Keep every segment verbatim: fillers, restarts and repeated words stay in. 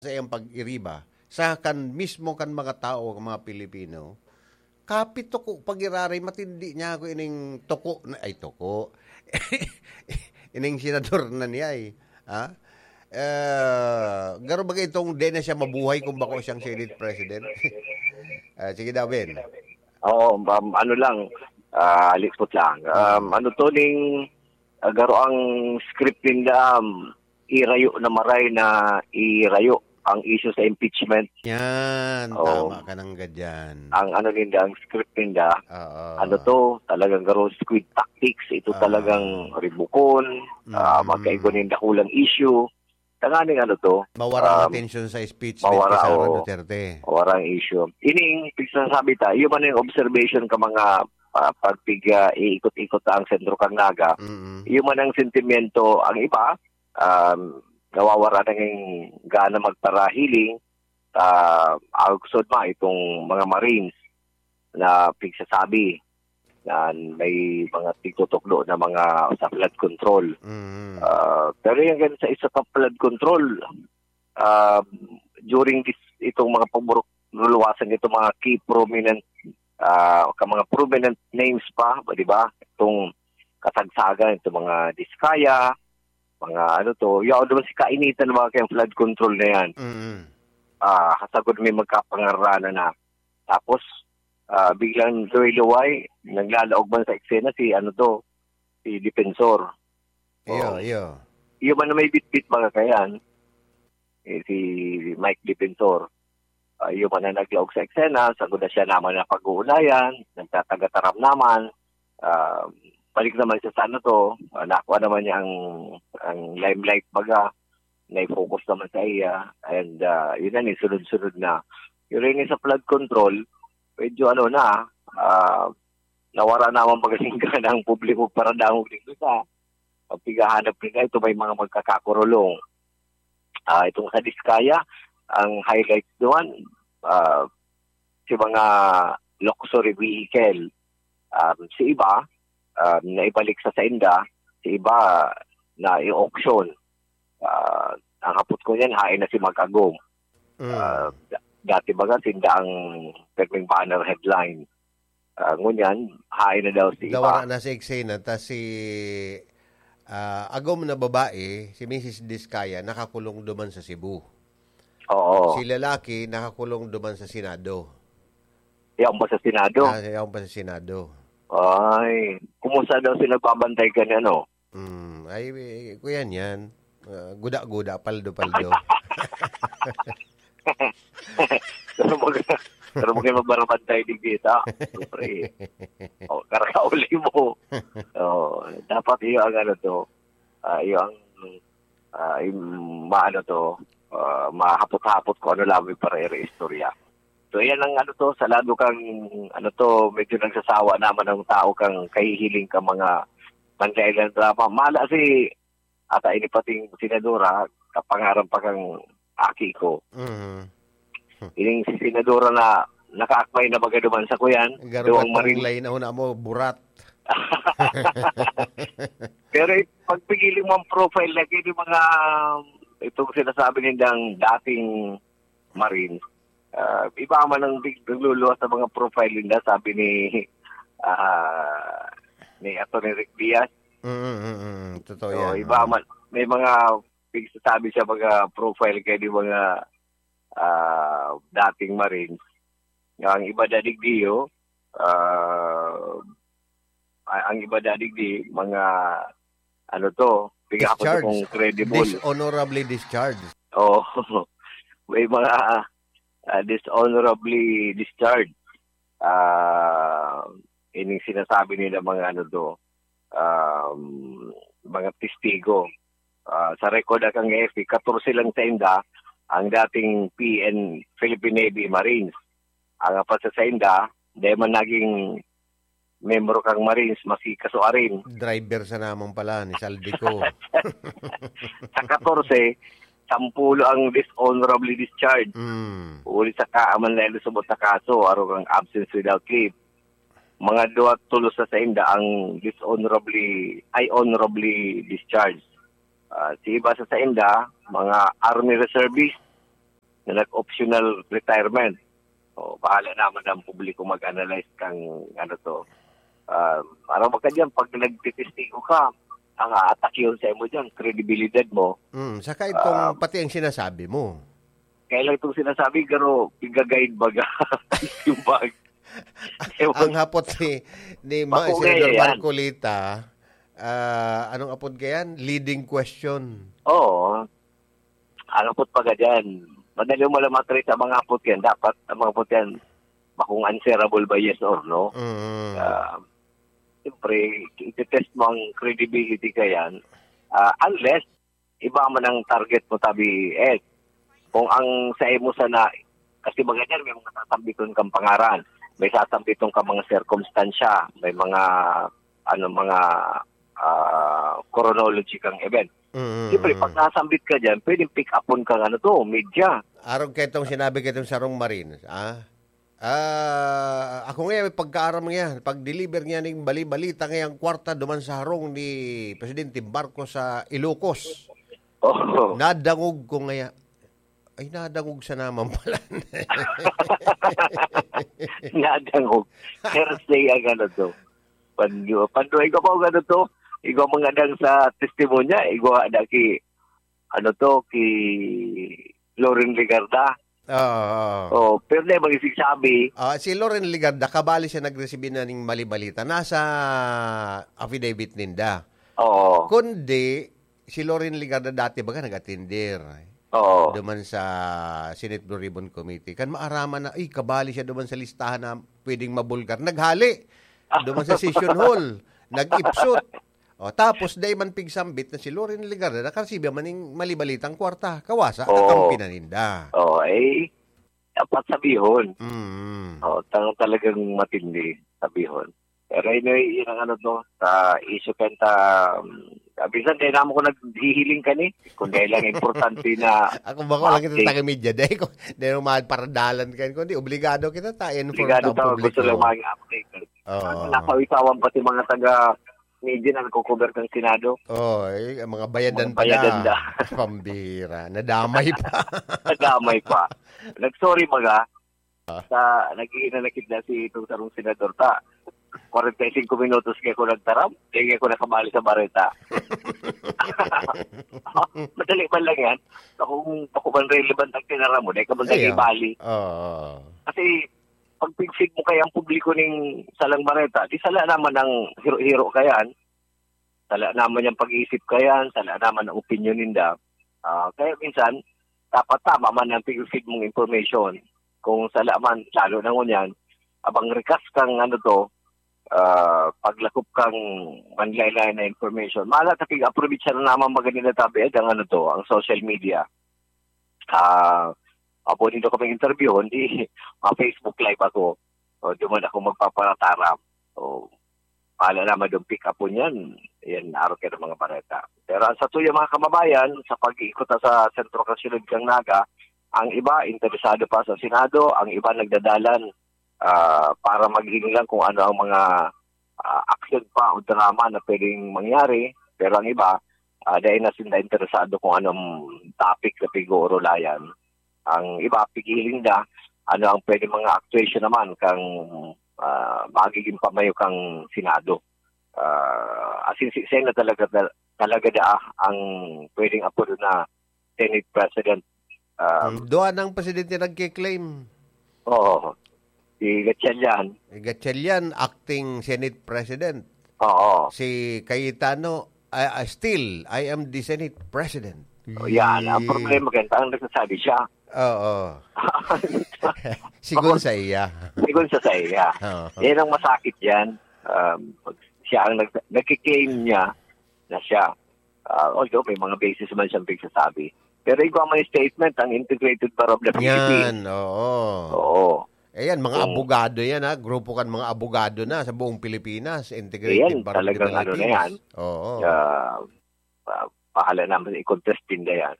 sa iyang pag-iriba sa kan mismo kan mga tao, kan mga Pilipino, kapit toko pagiraray, matindi niya ako ining toko na, ay, toko. Ining senador na niya, eh. Ha? Eh, garo ba itong di na siya mabuhay kung bako siyang Senate President? Ah, sige daw, Ben. Oo, um, ano lang, ah, lipot lang. Um, ano to ning, ah, garo ang script ninda, um, irayo na maray na irayo ang issue sa impeachment. Yan, Oo. tama ka nang gadyan. Ang ano ninda, ang script ninda, Oo. ano to, talagang garo squid tactics. Ito Ah. talagang ribukon, ah, Mm. magkaigo nin dakulang issue. Tanganing ano to, Mawara ang um, atensyon sa speech ni mawara, Sara oo. Duterte. Mawara ang issue. Ining, pigsasabi ta, yun man yung observation ka mga, ah, pag pig, ah, iikot-ikot ang sentro kang Naga, Mm. yun man ang sentimiento, ang iba, um, nawawara na ng gana magparahiling, ah, agsod ma itong mga Marines na pigsasabi na may mga tigtutukdo na mga sa flood control. Mm. Ah, pero yung ganun sa isa pang flood control, ah, during this, itong mga pagburuk-, luluwasan nitong mga key prominent, ah, ka mga prominent names pa, di ba? Itong kasagsagan, itong mga Diskaya, mga ano to, yaw naman si kainitan ng mga kayang flood control na yan. Mm. Ah, hasagod may magkapangaranan na. Tapos, ah, biglang luway-luway, naglalaog man sa eksena si ano to, si Defensor. Iyo, Oh. iyo. Iyo man na may bitbit mga kayan, eh, si Mike Defensor. Ah, iyo man na naglaog sa eksena, sagod na siya naman na pag-uulayan, nagtatagataram naman. Ah, balik naman siya sa ano to, ah, nakuha naman niya ang, ang limelight baga, na-focus naman sa iya. And, ah, yun na, ni sunod-sunod na. Pero yun sa flood control, medyo ano na, ah, nawara naman baga ning gana ang publiko para dangog dito sa pagpigahanap nila. Ito may mga magkakakurulong. Ah, itong sa Diskaya, ang highlight doon, ah, si mga luxury vehicle. Um, si iba, um, naibalik sa sainda, si iba na i-auction. Ah, ang hapot ko niyan, hain na si Magkagong. Mm. Ah, da-, dati baga, sinda ang pirming banner headline. Ah, ngunyan, hain na daw si iba. Nawara na si Eksena, ta si, ah, agom na babae, si Missus Diskaya, nakakulong duman sa Cebu. Oo. Si lalaki, nakakulong duman sa Senado. Yaon ba sa Senado? Ah, yaon pa sa Senado. Ay, kumusta daw sila nagbabantay ka ni ano? Hmm, ay, eh, kuya niyan. Ah, guda-guda, paldo-paldo. Pero mag-, pero mag-, magbarabantay digdi ta. Siyempre. O, karakauli mo. O, dapat iyo ang ano to. Ah, iyo ang, ah, yung maano to, ah, mahapot-hapot kung ano lang may para istorya. So, yan ang ano to, sa lado kang, ano to, medyo nagsasawa naman ang tao kang kahihiling ka mga manlain-laing drama. Mala si, ata ini pating senadora, kapangaran pa kang aki ko. Mhm. Ining si senadora na nakaakmay na baga duman sa kuyan, Garo duwang ka tong maril- lain na huna mo, burat. Pero i-, pag piniling mo ang profile na gini mga, itong sinasabi nindang dating Marines, ah, iba man ang big-, nagluluwas sa mga profile ninda, sabi ni, ah, ni Attorney Rick Diaz. Mm, mm, mm. Totoo So, yan, iba oo. man, may mga pigsasabi siya mga profile kay di mga, ah, dating Marines. Ang iba dadigdiyo, ah, a-, ang iba dadigdi, mga, ano to, piga ako Discharge. kung credible. Dishonorably discharged. Oo. May mga, ah, dishonorably discharged. Ah, ining sinasabi nila mga ano to, um, mga testigo. Ah, sa record akang A F P, katorse lang sa inda ang dating P N, Philippine Navy Marines. Ang apat sa sainda, di man naging membro kang Marines, maski kasuarin. Driver sa naman pala, ni Saldico. Sa katorse, sampulo ang dishonorably discharged. Mm. Uli sa kaaman na ilusubot na kaso, arog ang absence without leave. Mga duwa tulos sa sainda ang dishonorably, ay honorably discharged. Ah, si iba sa sainda, mga army reservist, na nag-optional retirement. O, bahala naman ang publiko mag-analyze kang ano to. Um, ano ba ka dyan, pag nagtitestigo ka, ang aatak yun sa imo dyan, kredibilidad mo. Mm, saka itong Um, pati ang sinasabi mo. Kaya lang itong sinasabi, pero piga-guide baga. Yung bag. Ang hapot ni, ni Ma- Bako Senador ngayon yan. Marcoleta, ah, anong apod ka yan? Leading question. Oo. Ang apod pa ka dyan. Madali mo lang matrace ang mga apod yan. Dapat ang mga apod yan, makung answerable ba yes or no? Mm. Ah, siyempre, i-test mo ang credibility ka yan. Ah, unless, iba man ang target mo, tabi, eh. Kung ang sa imo sana, kasi mga dyan, may mga sasambiton kang pangaran, may sasambiton kang mga sirkumstansya, may mga, ano, mga ah, chronology kang event. Mm. Siyempre, pag nasambit ka dyan, pwedeng pick upon kang ano to, media. Arog kaitong sinabi kaitong sarong Marines, ah? Ah, ako ngayon, may pagkaaram niya, pag-deliver niya ning bali-balita ngayang kwarta duman sa harong ni Presidente Marcos sa Ilocos. Oh. Nadangog ko ngaya. Ay, nadangog sa naman pala. Nadangog. Hearsay ang ano to. Pando, pando, ikaw pa ang ano to. Ikaw mga dang sa testimonya, ikaw ada ki, ano to, ki Loren Legarda. Oo. Oh, pero na ibang isig sabi. Ah, si Loren Legarda, kabali siya nagresibi na ning mali-balita. Nasa affidavit ninda. Oo. Kundi, si Loren Legarda dati baga nag-atender. Oo. Duman sa Senate Blue Ribbon Committee. Kan maaraman na, ay, kabali siya duman sa listahan na pwedeng mabulgar. Naghali. Duman sa session hall. Nag-ipsot. O, tapos, dai man pigsambit na si Loren Legarda, nakaresibi man ning mali-balitang kwarta. Kawasa, Oo. Kakampi na ninda. Oo, eh, dapat sabihon. Mm. Oh, tang talagang matindi, sabihon. Pero anyway, yun ang ano to, sa issue kanta, um, ah, minsan dahil naman ko naghihiling ka ni, kung dahil lang importante na Ako ba ko lang kita update. Taga-media, dahil ko, dahil ko magparadalan kayo, kundi obligado kita ta, inform Obligado ta ang ta, gusto publiko. Lang mag-update. Oo. Napawisawan pati mga taga-media na nagko-cover ng Senado. Oo, eh, ang mga bayadan Mga pa bayadan na. Na. Pambira. Nadamay pa. Nadamay pa. Nag-sorry baga. Ah. Sa, naghihinanakit na si itong sarong senador ta. Kwarenta y singko minutos kaya ko nagtaram, kaya ko nakabali sa bareta. Madali man lang yan. Kung, kung man relevant ang tinaram mo, dahil ka man Ayaw. Bali. Oo. Kasi, pag pigfeed mo kaya ang publiko ning salang bareta, di sala naman ang hiro-hiro kayan, sala naman yung pag-iisip kayan, sala naman ang opinion ninda. Ah, kaya minsan, dapat tama man ang pigfeed mong information. Kung sala man, lalo na ngunyan, abang rikas kang ano to, ah, paglakop kang manlaylay na information. Mala ta pig-aprovechar na naman magani na tabi ang ano to, ang social media. Ah, apo nito kami interview, hindi ma-Facebook Live ako. O, di man ako magpaparataram. O, pala naman yung pick up po niyan. Yan, araw ka ng mga bareta. Pero ang sa tuya, mga kababayan, sa pag-iikot na sa sentro kasyudad kang Naga, ang iba, interesado pa sa Senado, ang iba nagdadalan ah, para maghiling lang kung ano ang mga ah, aksyon pa o drama na pwedeng mangyari. Pero ang iba, ah, dahil na sila interesado kung anong topic na pag-uurulayan. Ang iba, pigiling na ano ang pwedeng mga actuation naman kang ah, magiging pamayo kang Senado. Ah, as in, si Sen na talaga, talaga da ang pwedeng apodo na Senate President. Um, Hmm, duwa ng presidente nagkiklaim. Oo. Si Gatchalian. Si Gatchalian, acting Senate President. Oo. Si Cayetano, ah, ah, still, "I am the Senate President." Oh, yan. Ang Yee. Problema, ganito, ang nagsasabi siya. Oo. Sigun sa iya. Sigun sa, sa iya. Oo. Yan ang masakit yan. Um, siya ang nag- nagkiklaim niya na siya. Ah, although may mga basis man siyang pagsasabi. Pero igwa may statement ang Integrated Bar of the Philippines. Yan, oo. Oo. Ayan, mga Oo. Abogado yan, ha? Grupo kan mga abogado na sa buong Pilipinas. Integrated Ayan, Bar of the Philippines. Talagang ano na yan. Oo. Ah, ah, bahala naman i-contest din na yan.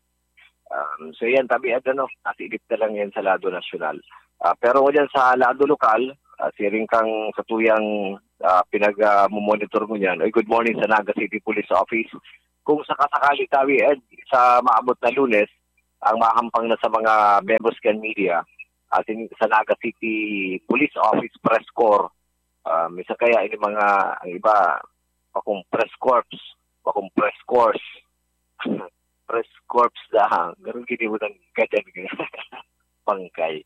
Um, so yan, tabi at ano, nasilip na lang yan sa lado nasyonal. Ah, pero dyan sa lado lokal, ah, siring kang sa tuyang ah, pinag-monitor mo niyan. Oy, good morning sa Naga City Police Office. Kung sakasakali tabi, Ed, sa maabot na Lunes, ang mahampang na sa mga membros kan media, asin sa Naga City Police Office Press Corps, ah, minsan kaya ini mga, ang iba, bakong press corps, bakong press corps, press corps da, ganun gini mo ng gadan, bangkay.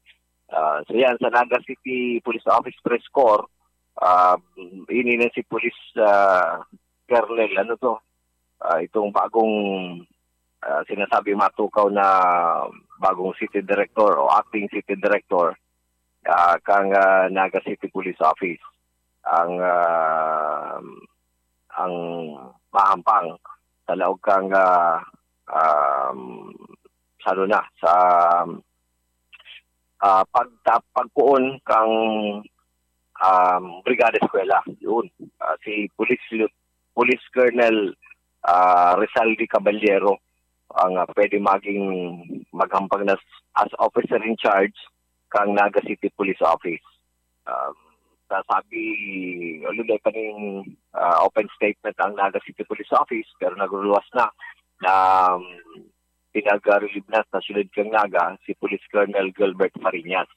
Ah, so yan, sa Naga City Police Office Press Corps, ah, ini na si Police, ah, Colonel, ano to, ah, itong bagong, ah, sinasabi matukaw na bagong city director o acting city director, ah, kang, ah, Naga City Police Office. Ang, ah, ang mahampang sa laog kang, ah, um, sa ano na, sa, ah, pagta-, pagpoon kang, um, Brigada Eskwela. Yun. Ah, si Police Lieu-, Police Colonel, ah, Rizaldi Caballero ang, ah, pwede maging maghampang na s-, as officer in charge kang Naga City Police Office. Um, sasabi, alulay pa ning, ah, open statement ang Naga City Police Office, pero nagluluwas na na, um, pinag-relieve na sa siyudad kang Naga si Police Colonel Gilbert Fariñas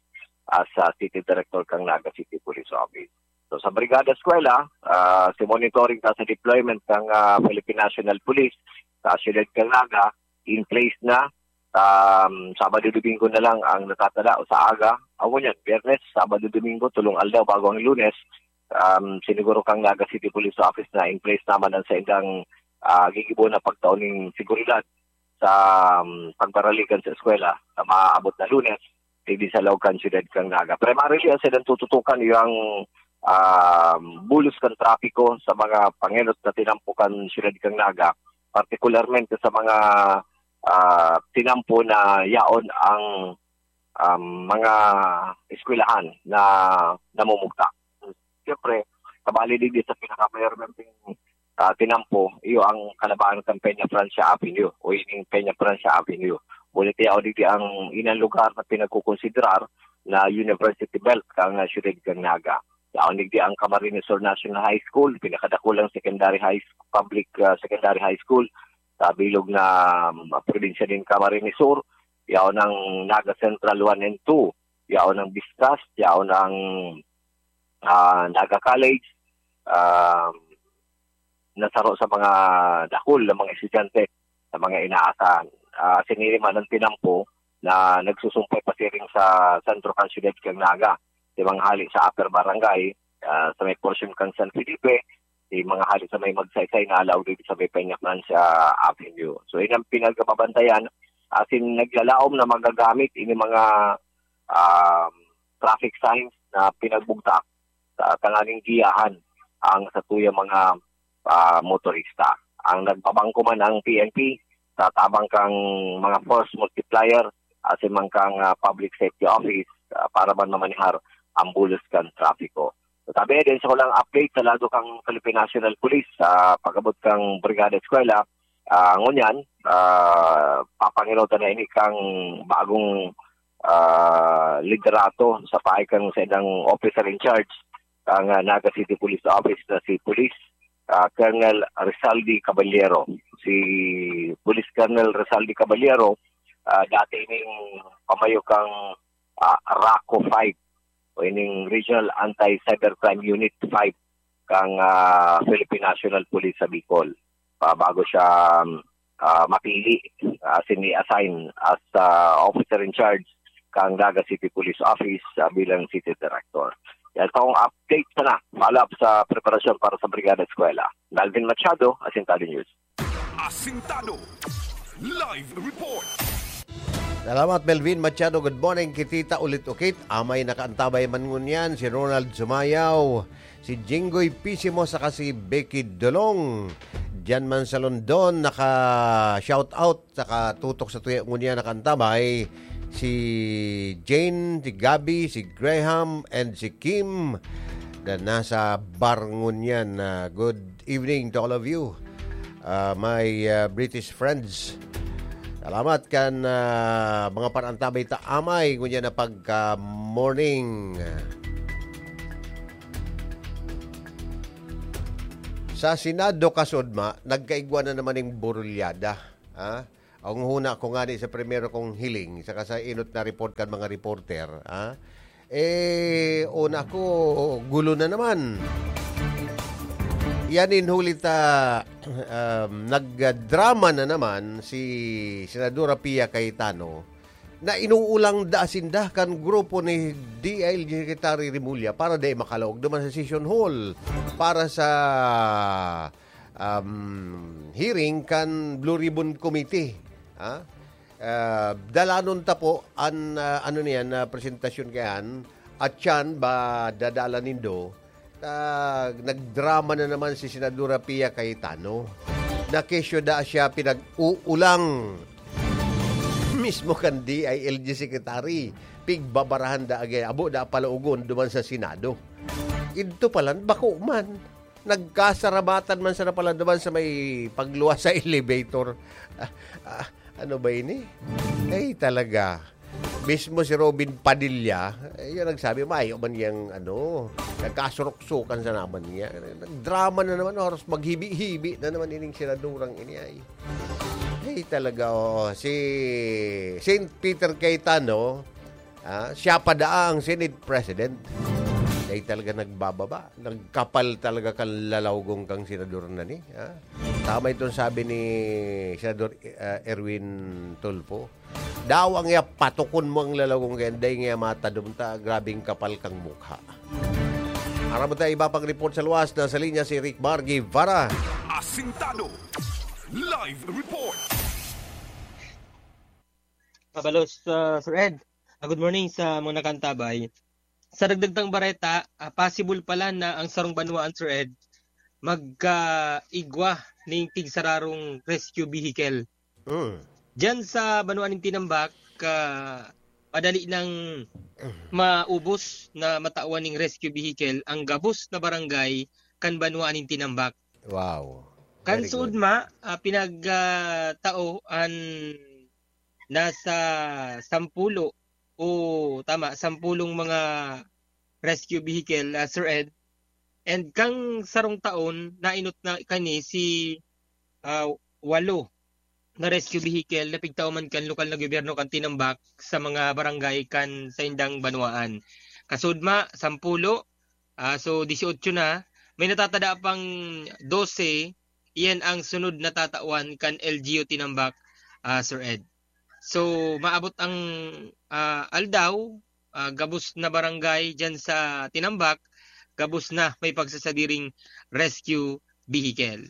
as, ah, City Director kang Naga City Police Office. So, sa Brigada Eskwela, ah, si monitoring ta sa deployment ng, ah, Philippine National Police sa siyudad kang Naga, in place na. Um, Sabado, Domingo na lang ang natatala o sa aga. Ako niyan, Biyernes, Sabado, Domingo, tulong aldaw bago ang Lunes. Um, siniguro kang Naga City Police Office na in place naman ang saindang, ah, gigibo na pagtao ning seguridad sa, um, pagbaraligan sa eskwela na maaabot na Lunes, digdi sa laog kan siyudad kang Naga. Primarily, ang saindang tututukan, yung, um, bulos kan trapiko sa mga pangenot na tinampo kan siyudad kang Naga, partikularmente sa mga, ah, tinampo na yaon ang, um, mga eskwelahan na namumugtak. Siyempre, kabali digdi sa pinakamayormenteng, ah, tinampo, iyo ang kalabahan kan Peña Francia Avenue o ining Peña Francia Avenue. Ngunit yaon digdi ang ilang lugar na pinagkukonsiderar na university belt kang, ah, siyudad kang Naga. Yaon digdi ang Camarines Sur National High School, pinakadakulang secondary high sc-, public, ah, secondary high school sa bilog na, um, probinsya nin Camarines Sur. Yaon ang Naga Central one and two, yaon ang Vistas, yaon ang, ah, Naga College, ah, na saro sa mga dakul na mga estudyante, sa mga inaasahan. Ah, siniriman ang tinampo na nagsusumpay pasiring sa sentro kan siyudad kang Naga. Sa mga hali sa Upper Barangay, ah, sa may portion kang San Felipe, sa mga hali sa may Magsaysay na alaw dito sa may Peña Francia Avenue. So, yun ang pinagbabantayan. Asin naglalaom na magagamit ini mga, ah, traffic signs na pinagbugtak sa tanganing giyahan ang satuyang mga, ah, motorista. Ang nagbabangko man ang P N P sa tabang kang mga force multiplier, asin man kang, ah, public safety office, ah, para man mamanihar ang bulos kan trapiko. So, sabi din sa kulang update sa lado kang Philippine National Police sa pag-abot kang Brigada Eskwela, ah, ngunyan, ah, papanginutan na ini kang bagong, ah, liderato sa pahay kang sa ilang officer in charge kang, ah, Naga City Police Office na si Police, ah, Colonel Rizaldi Caballero. Si Police Colonel Rizaldi Caballero, ah, dati ning pamayo kang, ah, RACO five o ining Regional Anti-Cybercrime Unit five kang, ah, Philippine National Police sa Bicol. Pa, bago siya, um, ah, mapili, ah, sini-assign as, ah, officer in charge kang Naga City Police Office, ah, bilang city director. Yan po ang update sana. Follow up sa preparasyon para sa Brigada Eskwela. Melvin Machado, Asintado News. Asintado. Live report. Salamat, Melvin Machado. Good morning, Kitita Ulit Ukit. Amay nakaantabay man ngunyan, si Ronald Sumayaw, si Jinggoy Pisimo, saka si Becky Dolong. Diyan man sa London, naka-shout out, saka tutok sa tuya ngunyan nakaantabay, si Jane, si Gabby, si Graham, and si Kim na nasa bar ngunyan. Ah, good evening to all of you, ah, my, ah, British friends. Salamat kan, ah, mga parantabay ta amay ngunyan na pagka-morning. Sa Senado, kasudma, nagkaigwa na naman ning burulyada, ha? Ang huna ko nga ni sa primero kong hiling, saka sa inot na report kan mga reporter, ha? Eh, una ko, gulo na naman. Yan in huli ta, um, nagdrama na naman si Senadora Pia Cayetano na inuulang da sinda kan grupo ni D I L G Secretary Remulla para di makalaog naman sa session hall para sa um, hearing kan Blue Ribbon Committee. Ha? Ah, dalanon ta po an, ah, ano niyan, na presentasyon kayan, at yan ba dadala nindo? Ah, nagdrama na naman si Senadora Pia Cayetano. Nakesyo da siya pinag-uulang mismo kan D I L G Secretary. Pigbabarahan da agay, abo da palaogon duman sa Senado. Idto palan, bako man. Nagkasarabatan man sana pala duman sa may pagluwas sa elevator. Ah, ah, ano ba ini? Ay, talaga. Mismo si Robin Padilla, eh, yun nagsabi, "Mayo man yang, ano, nagkasurok-sukan sa naman niya." Nagdrama na naman, oras maghibi-hibi na naman ining senadorang ini ay. Ay, talaga, oo. Si Saint Peter Cayetano, ah, siya pa daa ang Senate President. Ay, talaga nagbababa. Nagkapal talaga kan lalawgong kang senador na ni, ah. Tama itong sabi ni Senador, ah, Erwin Tulfo. Daw ang iya patukon mo ang lalawgong kaya, dai nga matadom ta, grabing kapal kang mukha. Aram mo tayo iba pang report sa luwas, nasa linya si Rick Mar Guevara. Asintado. Live report. Mabalos, ah, Sir Ed. Ah, good morning sa mga nakantabay. Sa dagdag tang bareta, ah, possible pala na ang sarong banwaan, Sir Ed, magkaigwa ning tigsararong rescue vehicle. Mm. Diyan sa banwaan ning Tinambak, ah, madali nang maubos na matawan ning rescue vehicle ang gabos na barangay kan banwaan ning Tinambak. Wow. Kan Very good. Sudma, ah, pinag, ah, tao an nasa sampulo o, tama, sampulong mga rescue vehicle, ah, Sir Ed. And kang sarong taon, nainot na kani si, ah, walo na rescue vehicle na pigtao man kan lokal na gobyerno kan Tinambak sa mga barangay kan saindang banwaan. Kasudma, sampulo, ah, so, dieciocho na. May natatada pang dose, iyan ang sunod na tatawan kan L G U Tinambak, ah, Sir Ed. So, maabot ang, ah, aldaw, ah, gabos na barangay diyan sa Tinambak, gabos na may pagsasadiring rescue vehicle.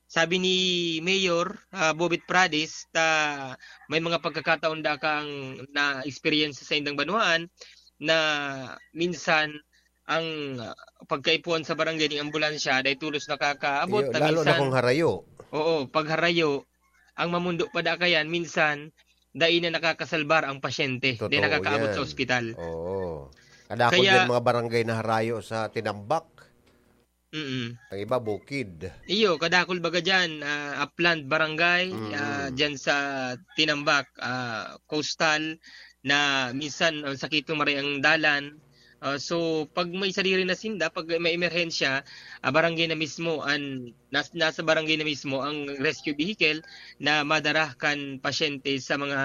Sabi ni Mayor, ah, Bobet Pradis, ta may mga pagkakataon da kang na-experience sa indang banwaan na minsan ang, ah, pagkaipuhan sa barangay ning ambulansya dai tolos nakakaabot. Iyo, ta lalo na minsan kung harayo. Oo, pag harayo, ang mamundo pa da kayan, minsan, dai na nakakasalbar ang pasyente, dai Totoo nakakaabot yan. Sa ospital. Oo. Kadakol Kaya yan mga barangay na harayo sa Tinambak. Mm. Ang iba, bukid. Iyo, kadakol baga dyan, ah, upland barangay, Mm. ah, dyan sa Tinambak, ah, coastal, na minsan ang sakit ng maray ang dalan. Ah, so, pag may sadiri na sinda, pag may emerhensya, ah, barangay na mismo, an, nas-, nasa barangay na mismo ang rescue vehicle na madara kan pasyente sa mga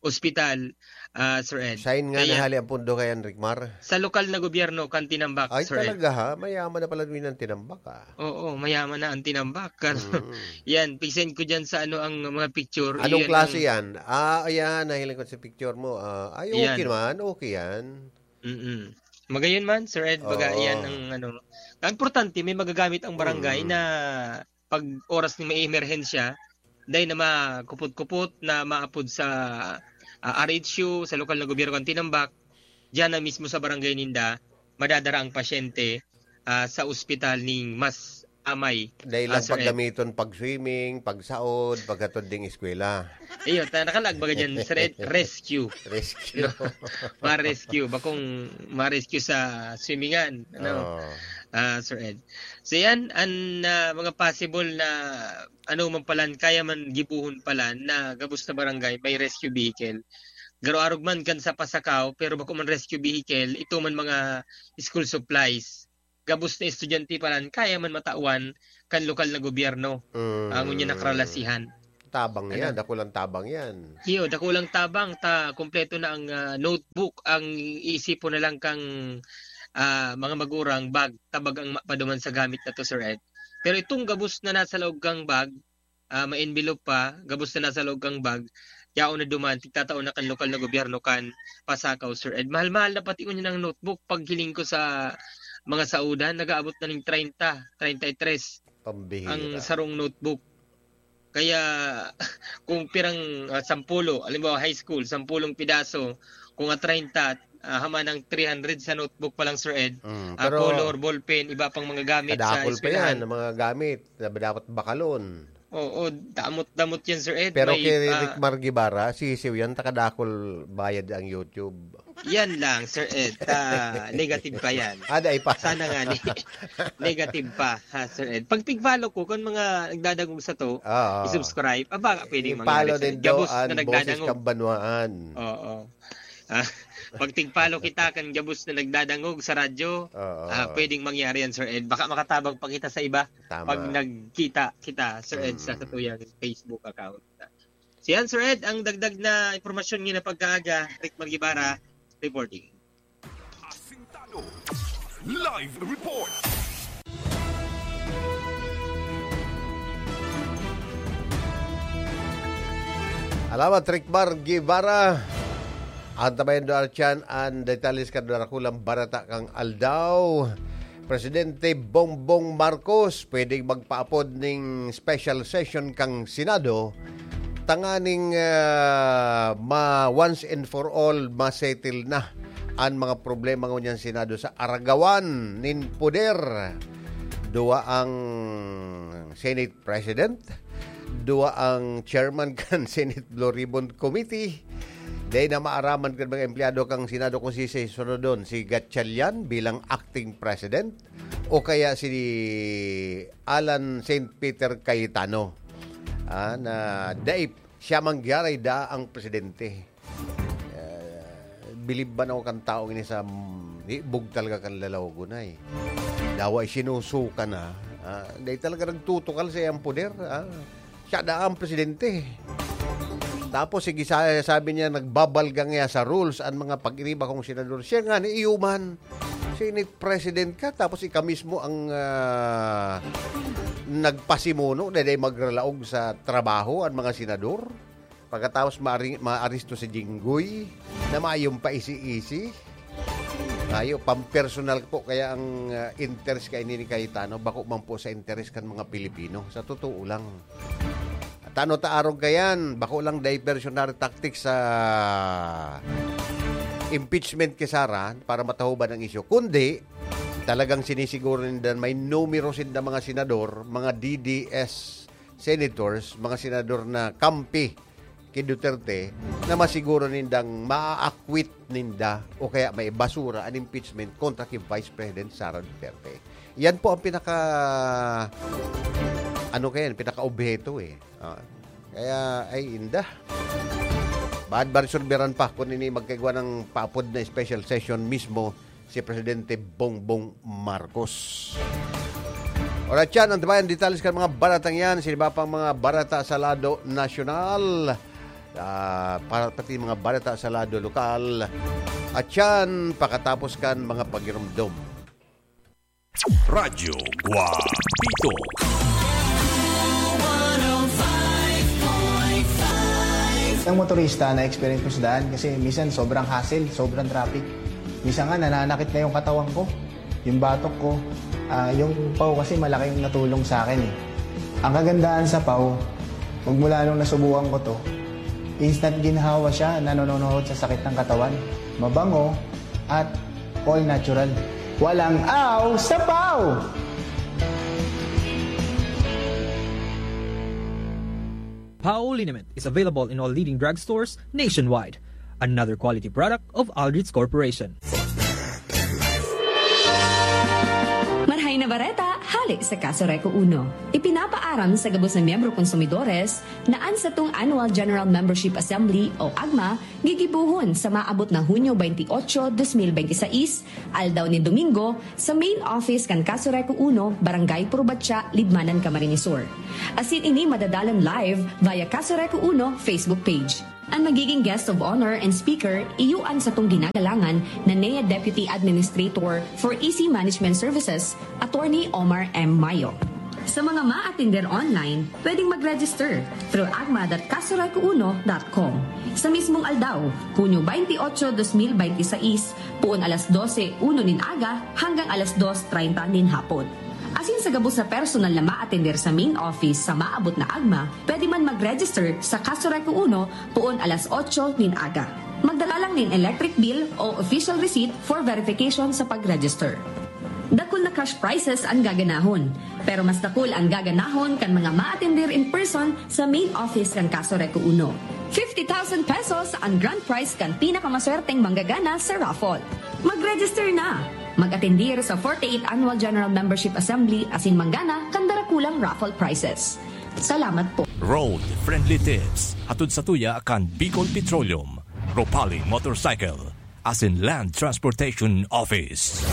ospital, ah, Sir Ed. Sain nga Kaya nahali ang pundo kaya, Rick Mar? Sa lokal na gobyerno kan Tinambak, Ay, Sir Ed. Talaga ha? Mayaman na pala din ang Tinambak, ah. Oo, mayaman na ang Tinambak. Mm. Yan, pag-send ko dyan sa ano ang mga picture. Anong Iyan klase ang yan? Ah, ayan, nahiling ko sa picture mo. Ah, ay, okay Yan. naman, okay yan. Mm. Magayon man, Sir Ed, baga Oo. yan ang ano. Ang importante, may magagamit ang barangay Mm. na pag oras ni may emerhensya, dahil na makupot-kupot na maapod sa, ah, R H U, sa lokal na gobyerno kan Tinambak, diyan na mismo sa barangay ninda, madadara ang pasyente, ah, sa ospital ning mas amay, Dahil ah, lang Sir Ed. paggamiton, pag-swimming, pagsaod, paghatod ding eskwela. Iyo, ta-, nakalag baga dyan, Sir Ed, rescue. Rescue. No? Ma-rescue, bakong ma-rescue sa swimmingan, ano? Oo. Ah, Sir Ed. So yan, an, ah, mga possible na ano man palan, kaya man gibuhon palan na gabos na barangay, may rescue vehicle. Garo arog man kan sa Pasacao, pero bako man rescue vehicle, ito man mga school supplies. Gabos na estudyante palan, kaya man matawan kan lokal na gobyerno. Mm. Ang unya nakaralasihan. Tabang yan, Ano? dakulang tabang yan. Iyo, dakulang tabang, ta kompleto na ang, ah, notebook, ang iisipon na lang kang, ah, mga magurang bag, tabang ang ma-, paduman sa gamit na to, Sir Ed. Pero itong gabos na nasa loob kang bag, ah, ma-envelope pa, gabos na nasa loob kang bag, yaon na duman, tigtatao na kan lokal na gobyerno kan pasakaw, Sir Ed. Mahal-mahal na pati ngunyan ang notebook. Paghiling ko sa mga saudan, nag-aabot na ning treinta, treinta y tres Pambihira. ang sarong notebook. Kaya, kung pirang, ah, sampulo, halimbawa, high school, sampulong pidaso, kung a treinta, ah, hama ng three hundred sa notebook pa lang, Sir Ed. Mm, Ah, pero color, ballpen, iba pang mga gamit sa kadakol pa yan, eskwelahan. ang mga gamit na dapat bakalon. Oo, damot-damot yan, Sir Ed. Pero May, kay ah, Rick Mar Guevara, sisiw yan, takadakol bayad ang YouTube. Yan lang, Sir Ed. Ah, negative pa yan. Ah, dai pa. Sana nga ni-, negative pa, ha, Sir Ed. Pag tig-follow ko, kung mga nagdadangog sa to, Oo. i-subscribe. Aba, pwedeng I-follow mangyari, Sir Ed. din daw Gabos na ang Boses nagdadangog. Kang Banwaan. Oo. Ah, pag tig-follow kita kan gabos na nagdadangog sa radyo, Oo. ah, pwedeng mangyari yan, Sir Ed. Baka makatabang pa kita sa iba Tama. pag nagkita kita, Sir Ed, sa Mm. satuyang Facebook account. So yan, Sir Ed, ang dagdag na impormasyon ngina pagkaaga, Rick Mar Guevara, reporting. Asintado. Live report. Alamat, Rick Mar Guevara. Antabayan do Archan an detalles kan dakulang barata kan aldaw. Presidente Bongbong Marcos pwedeng magpaapod ning special session kan Senado tanganing, ah, ma-, once and for all, ma-settle na an mga problema ngunyan Senado sa aragawan nin poder. Duwa ang Senate President, duwa ang chairman kan Senate Blue Ribbon Committee. Dai na maaraman kan mga empleyado kan Senado kung si, si sunodon, si Gatchalian bilang acting president o kaya si Alan Saint Peter Cayetano. Ah, na dai siya man gyaray daa ang presidente. Eh, bilib man ako kan taong ini sa, mm, hibog talaga kan lalawagon ay. Dawa sinusuka na, ah, dai talaga nagtutukal sa iyang poder, ah. Siya na ang presidente. Tapos, sige, sa-, sabi niya, nagbabalgang niya sa rules ang mga pag-iriba kong senador. Siya nga, ni iyo man, Senate President ka, tapos ika mismo ang, ah, nagpasimuno na dai magralaog sa trabaho ang mga senador. Pagkatapos maari-, maaresto si Jinggoy na mayong paisi-isi. Ayo, pampersonal po kaya ang, ah, interes kaini ni Cayetano, bako man po sa interes kan mga Pilipino. Sa totoo lang. Tano ta arog kayan, bako lang diversionary tactics sa impeachment kay Sara para matahuban ang isyu. Kundi, talagang sinisiguro ninda may numero sinda mga senador, mga D D S senators, mga senador na kampi ki Duterte, na masiguro nindang maa-acquit ninda o kaya may basura an impeachment kontra ki Vice President Sara Duterte. Yan po ang pinaka, ano kayan, pinaka-obheto eh. Ah, kaya, ay, inda. Bad ba resolveran pa kung ini magkaigwa ng paapod na special session mismo si Presidente Bongbong Marcos. Alright, yan ang tabayan detalles kan mga baratang yan. Sa iba pang mga barata sa lado nasyonal, ah, para pati mga barata sa lado lokal. At yan, pakatapos kan mga pagirumdom. Radyo Guapito. Ang motorista na experience ko sa daan kasi minsan sobrang hassle, sobrang traffic. Minsan nga nananakit na yung katawan ko, yung batok ko, ah, yung paw kasi malaking natulong sa akin eh. Ang kagandahan sa paw, magmula nung nasubukan ko to, instant ginhawa siya, nanononohod sa sakit ng katawan. Mabango at all natural. Walang aw sa paw! Paw liniment is available in all leading drugstores nationwide. Another quality product of Aldrich Corporation. Marhay na bareta, sa Kaso Reco Uno. Ipinapaaram sa gabos na miyembro konsumidores na an satong Annual General Membership Assembly o agma gigibohon sa maabot na Hunyo twenty-eight, twenty twenty-six, aldaw nin Domingo, sa main office kan Kaso Reco Uno, Barangay Purubatya, Libmanan, Camarines Sur. Asin ini madadalan live via Kaso Reco Uno Facebook page. An magiging guest of honor and speaker, iyo an satong ginagalangan na N E A Deputy Administrator for E C Management Services, Attorney Omar M. Mayo. Sa mga maatender online, pwedeng mag-register through agma dot kasoreco uno dot com. Sa mismong aldaw, Hunyo twenty-eight, twenty twenty-six, poon alas dose uno nin aga hanggang alas dos treinta nin hapon. Asin sa gabos na personal na maatender sa main office sa maabot na agma, pwede man mag-register sa Kaso Reco Uno poon alas otso nin aga. Magdala lang nin electric bill o official receipt for verification sa pag-register. Dakul na cash prizes an gaganahon, pero mas dakul an gaganahon kan mga maatender in person sa main office kan Kaso Reco Uno. Fifty thousand pesos an grand prize kan pinakamaswerteng manggagana sa raffle. Mag-register na! Mag-atendir sa forty-eighth Annual General Membership Assembly asin manggana kan darakulang raffle prizes. Salamat po. Road Friendly Tips, hatod sa tuya kan Bicol Petroleum, Ropali Motorcycle, asin Land Transportation Office.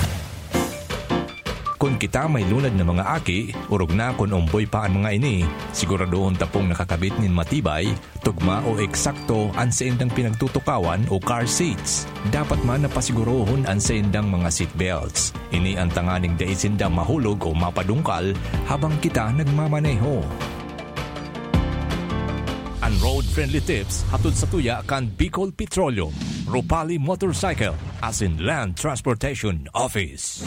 Kun kita may lunad na mga aki, orog na kun omboy pa an mga ini, siguradohon ta pong nakakabit nin matibay, tugma o eksakto an saindang pinagtutukawan o car seats. Dapat man na pasigurohon an saindang mga seat belts. Ini an tanganing dai sinda mahulog o mapadungkal habang kita nagmamaneho. An Road Friendly Tips hatod sa tuya kan Bicol Petroleum, Ropali Motorcycle, asin Land Transportation Office.